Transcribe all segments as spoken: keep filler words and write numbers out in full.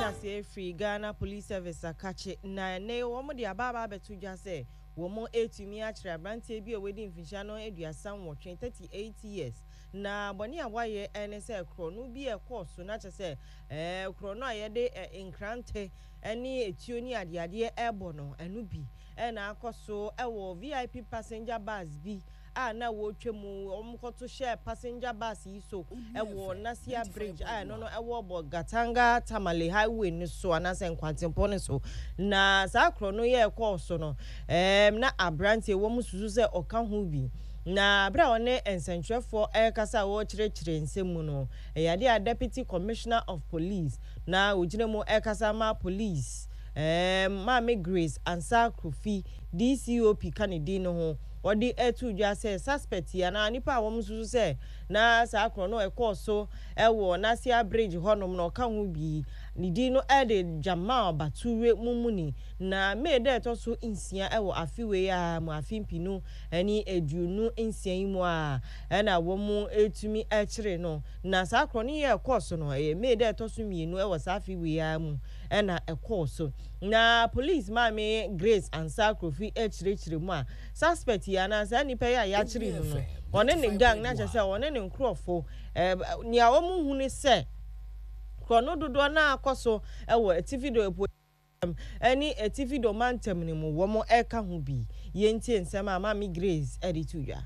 Aseɛ firi Ghana Police Service akakye na ɛnɛ wɔn de aba aba abɛto dwa sɛ wɔn etumi akyerɛ aberanteɛ bi a wadi mfinhyia no aduasa nwɔtwe, thirty eight years, na bɔne a wayɛ ɛne sɛ korɔno bi a ɛkɔɔ so na kyerɛ sɛ ɛɛ korɔno a yɛde ɛ nkrante ɛne etuo ne adeadeɛ ɛbɔ no, ɛno bi ɛna akɔ so ɛwɔ V I P passenger bus bi a na wɔretwa mu. Wɔn kɔto hyɛ passenger bus yi so ɛwɔ Nasia Bridge a ɛno no ɛwɔ Bolgatanga Tamale Highway no so anaasɛ nkwantempɔn no so. Na saa korɔ no yɛ ɛkɔɔ so no, ɛɛm na aberanteɛ wɔn susu sɛ ɔka ho bi. Na abere a ɔne nsɛntwerɛfoɔ ɛrekasa a wɔrekyerɛkyerɛ nsɛm mu no, ɛyɛ adeɛ a Deputy Commissioner of Police na ogyina mu ɛrekasa ma police, ɛɛm Maame Grace Ansa Kofi, D C O P ka ne din no ho, wɔde ɛto dwa sɛ suspect yi anaa nipa a wɔn nso sɛ na saa korɔ no ɛkɔɔ so ɛwɔ Nasia Bridge hɔnom na ɔka ho bi, ne din no ɛde Jamal Bature Mumuni. Na May dɛ ɛtɔ so nsia ɛwɔ afe wei a mu, afe mpinu ɛne aduonu nsia yi mu a ɛna wɔn etumi ɛkyerɛ no. Na saa korɔ no yɛ ɛkɔɔ so no, ɛyɛ May dɛ ɛtɔ so mmienu ɛwɔ saa afe wei a mu ɛna ɛkɔɔ so. Na Police Maame Grace Ansa Kofi ɛkyerɛkyerɛ mu a suspect yi anaa saa nipa yi a yɛakyere no no, ɔne ne gang, na kyerɛ sɛ ɔne ne nkurɔfo, ɛɛ nea wɔn hu ne sɛ korɔno dodoɔ naa akɔ so ɛwɔ Atifi Do Epo ɛne Atifi Do mantam no mu, wɔn ɛka ho bi. Yɛntie nsɛm a Maame Grace ɛde to dwa.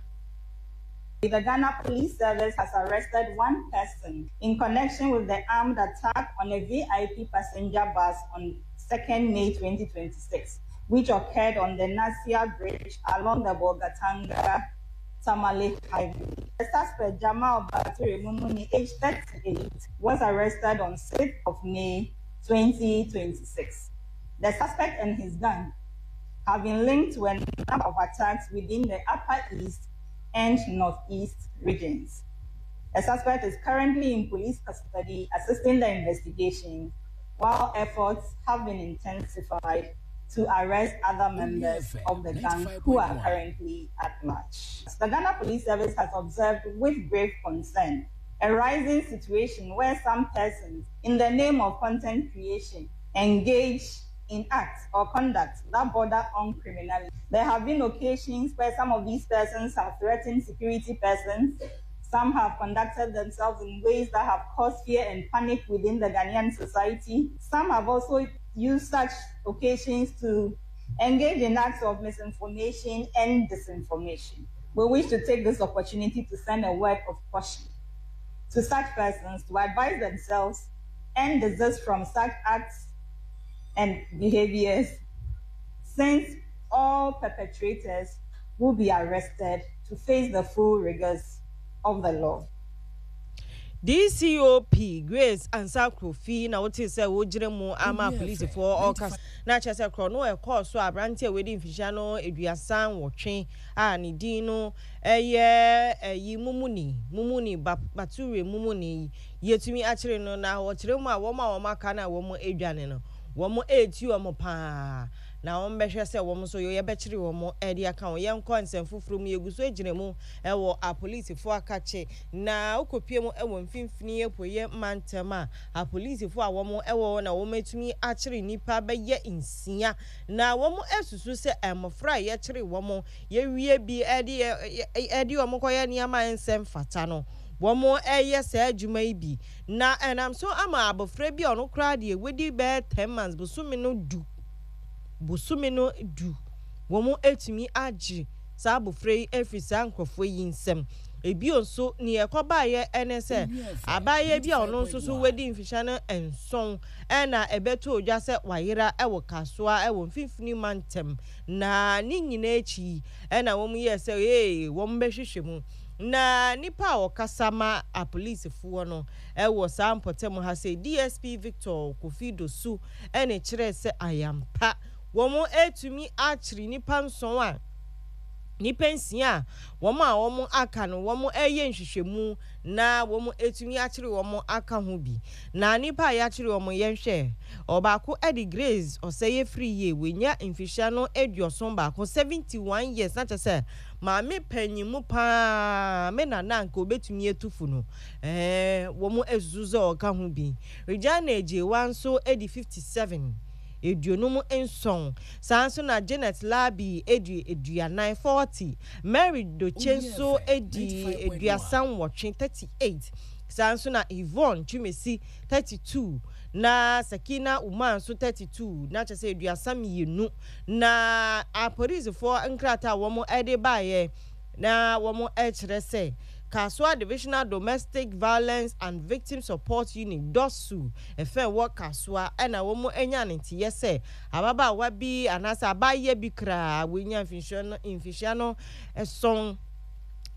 The Ghana Police Service has arrested one person in connection with the armed attack on a V I P passenger bus on second May twenty twenty-six, which occurred on the Nasia Bridge along the Bolgatanga Tamale Highway. The suspect, Jamal Bature Mumuni, aged thirty-eight, was arrested on sixth of May twenty twenty-six. The suspect and his gang have been linked to a number of attacks within the Upper East and Northeast regions. The suspect is currently in police custody assisting the investigation, while efforts have been intensified to arrest other members of the gang who are currently at large. The Ghana Police Service has observed with grave concern a rising situation where some persons, in the name of content creation, engage in acts or conduct that border on criminality. There have been occasions where some of these persons have threatened security persons. Some have conducted themselves in ways that have caused fear and panic within the Ghanaian society. Some have also used such occasions to engage in acts of misinformation and disinformation. We wish to take this opportunity to send a word of caution to such persons to advise themselves and desist from such acts and behaviors, since all perpetrators will be arrested to face the full rigors of the law. D C O P Grace Ansa Kofi na wote sɛ wogyina mu ama polisifoɔ ɔka, na kyerɛ sɛ korɔ no ɛkɔɔ so aberanteɛ a wadi mfihyia no aduasa nwɔtwe a ne din no ɛyɛ ɛyi Mumuni Mumuni Bature Mumuni yɛtumi akyere no. Na wɔkyerɛ mu a, wɔn a wɔn aka no a wɔn adwane no, wɔn eti wɔn paa na wɔn bɛhwɛ sɛ wɔn nso yɛbɛkyere wɔn ɛde aka wɔn. Yɛnkɔ nsɛm foforɔ mu. Yɛgu so gyina mu ɛwɔ apolisifoɔ akakye na wokɔpie mu ɛwɔ Mfimfini Apueyɛ mantam a apolisifoɔ a wɔn ɛwɔ na wɔn atumi akyere nnipa bɛyɛ nsia, na wɔn asusu sɛ mmɔfra a yɛkyere wɔn yɛwie bi ɛde ɛde wɔn kɔyɛ nneɛma nsɛm fata no, wɔn ɛyɛ saa adwuma yi bi, na ɛnam so ama abɔfra bi a ɔno koraa deɛ wadi bɛyɛ ten months, bosome no du bosome no du wɔn atumi agye saa abɔfra yi afiri saa nkurɔfoɔ yi nsam. Ebio nso, nea ɛkɔbaeɛ ɛne sɛ abaayewa bi a ɔno nso so wadi mfihyia no nson ɛna ɛbɛtɔ odwa sɛ wayera ɛwɔ Kasoa ɛwɔ Mfimfini mantam. Na ne nyinaa akyi ɛna wɔn yɛ sɛ ee wɔn bɛhwehwɛ mu, na nipa a ɔkasa ma apolisifoɔ no ɛwɔ saa mpɔtam ha sɛ D S P Victor Kofi Dosu ɛna kyerɛ sɛ ayampa wɔn etumi akyere nipa nson a nipa nsia a wɔn a wɔn aka no, wɔn ɛyɛ nhwehwɛmu na wɔn etumi akyere wɔn aka ho bi. Na nipa a yɛakyere wɔn, yɛnhwɛ, ɔbaako ɛde Grace Ɔsɛyɛ firi yie, wenya mfihyia no aduɔson baako, seventy one years, na kyerɛ sɛ Maame panyin mu paa me nana nka obetumi atu no, ɛɛ wɔn asusu sɛ ɔka ho bi. Regina Egyewa nso di fifty seven, aduonum nson. Saa nso na Janet Labi edi aduanan, forty. Mary Doche nso edi aduasa nwɔtwe, thirty eight. Saa nso na Yvonne Twumesi, thirty two, na Sakina Umar nso thirty two, na kyerɛ sɛ aduasa mmienu. Na apolisifoɔ nkrataa a wɔn de baeɛ na wɔn kyerɛ sɛ Kasoa Divisional Domestic Violence and Victim Support Unit, D O S U, ɛfɛn wɔ Kasoa, ɛna wɔn anya ne nteyɛ sɛ ababaawa bi anaasɛ abaayewa bi koraa wɔnya mfinhyia no mfinhyia no ɛsɔn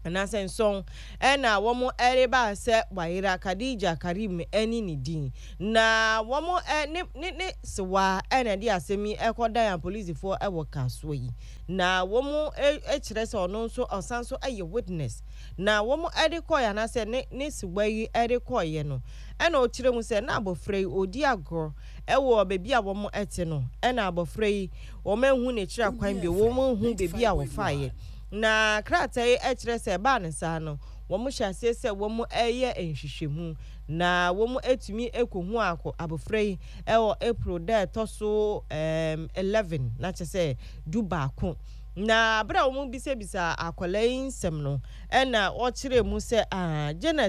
anaasɛ nson, ɛna wɔn ɛreba sɛ wayera. Khadija Karim ɛne ne din, na wɔn ɛ ne ne ne sewa ɛna ɛde asɛm yi ɛkɔdan apolisifoɔ ɛwɔ Kasoa yi, na wɔn ɛkyerɛ sɛ ɔno nso ɔsan so ɛyɛ witness. Na wɔn ɛde kɔɛ anaasɛ ne ne sewa yi ɛde kɔɛ no, ɛna ɔkyerɛ mu sɛ na abɔfra yi ɔdi agorɔ ɛwɔ beebi a wɔn ɛte no, ɛna abɔfra yi wɔn ehu n'akyiri akwan bi, wɔn ehu beebi a wɔfaeɛ. Na krataa yi kyerɛ sɛ ɛbaa ne saa no, wɔn hyɛ aseɛ sɛ wɔn reyɛ nhwehwɛmu, na wɔn atumi akɔhu akɔ abɔfra yi ɛwɔ April da ɛtɔ so ɛɛm eleven, na kyerɛ sɛ du baako. Na abere a wɔn bisabisa akwadaa yi nsɛm no, ɛna ɔkyerɛ mu sɛ aa Janet